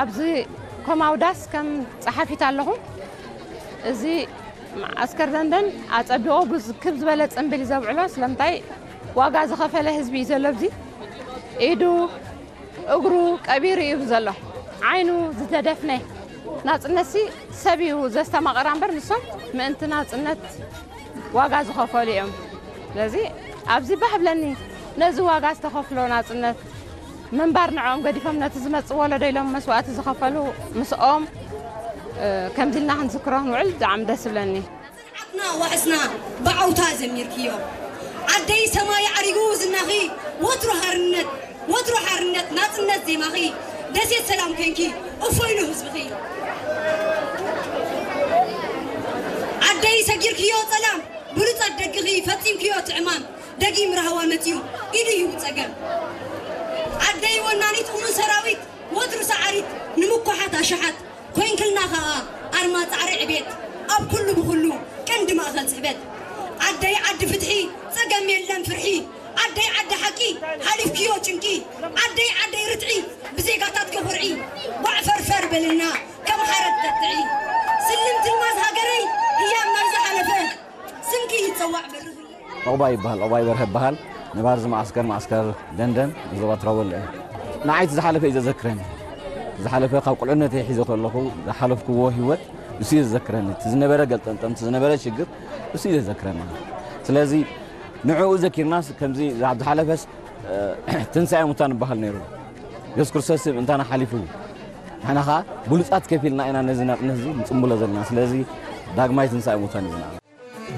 ኣብዚ ኮማውዳስ ከም ጸሓፊት ኣለኹ። እዚ መዓስከር ደንደን ኣጸቢቑ ክብ ዝበለ ጽንብል እዩ ዘብዕሎ። ስለምንታይ ዋጋ ዝኸፈለ ህዝቢ እዩ ዘሎ። ኣብዚ ኢዱ እግሩ ቀቢሩ እዩ ዘሎ። ዓይኑ ዝተደፍነ ናጽነትሲ ሰብ እዩ ዘስተማቐራ እምበር፣ ንሶም ምእንቲ ናጽነት ዋጋ ዝኸፈሉ እዮም። ስለዚ ኣብዚ ባህ ብለኒ፣ ነዚ ዋጋ ዝተኸፍሎ ናጽነት ምንባር ንዕኦም ገዲፎም ነቲ ዝመጽእ ወለዶ ኢሎም መስዋእቲ ዝኸፈሉ ምስኦም ከምዚ ኢልና ክንዝክሮ ክንውዕል ብጣዕሚ ደስ ይብለኒ። ዓትና ዋሕስና ብዓውታ ዘሚርክዮ ዓደይ ሰማይ ዓሪጉ ዝናኺ ወትሩ ሓርነት ወትሩ ሓርነት ናጽነት ዜማኺ ደሴት ሰላም ኮንኪ እፎይሉ ህዝብኺ ዓደይ ሰጊርክዮ ጸላም ብሉጻት ደግኺ ፈጺምክዮ ትዕማም ደጊም ራህዋ መጺኡ ኢዱ ሂቡ ጸገም ዓደይ ወናኒት እሙን ሰራዊት ወትሩ ሰዓሪት ንምኩሓት ኣሽሓት ኮይንክልና ከኣ ኣርማ ጻዕሪ ዕቤት ኣብ ኩሉ ብኹሉ ቀንዲ ማእኸል ጽሕበት ዓደይ ዓዲ ፍትሒ ጸገም የለን ፍርሒ ዓደይ ዓዲ ሓቂ ሓሊፍክዮ ጭንቂ ዓደይ ዓደይ ርትዒ ብዜጋታትኪ ኩርዒ ጓዕ ፈርፈር በልና ከም ሓረግ ጠጥዒ ስልምቲ ኣልማዝ ሃገረይ ህያብ ናይ ዝሓለፈ ስምኪ ይጸዋዕ በርኽለይ። ዑቕባይ ይበሃል፣ ዑቕባይ በርሀ ይበሃል። ነባሪ እዚ መዓስከር፣ መዓስከር ደንደን፣ ዞባ ትራወለ እየ። ንዓይ እቲ ዝሓለፈ እዩ ዘዘክረኒ። እቲ ዝሓለፈ ካብ ቁልዕነተይ ሒዘ ከለኹ ዝሓለፍክዎ ህይወት እሱ እዩ ዘዘክረኒ። እቲ ዝነበረ ገልጠምጠም፣ እቲ ዝነበረ ሽግር እሱ እዩ ዘዘክረኒ። ስለዚ ንዕኡ ዘኪርናስ ከምዚ ኣብ ዝሓለፈስ ትንሳኤ ሙታን ይበሃል ነይሩ። የሱስ ክርስቶስ ምእንታና ሓሊፉ ንሕና ኸዓ ብሉጻት ከፊልና ኢና ነዚ ናጽነት እዚ ንጽምብሎ ዘለና። ስለዚ ዳግማይ ትንሳኤ ሙታን ይብልና።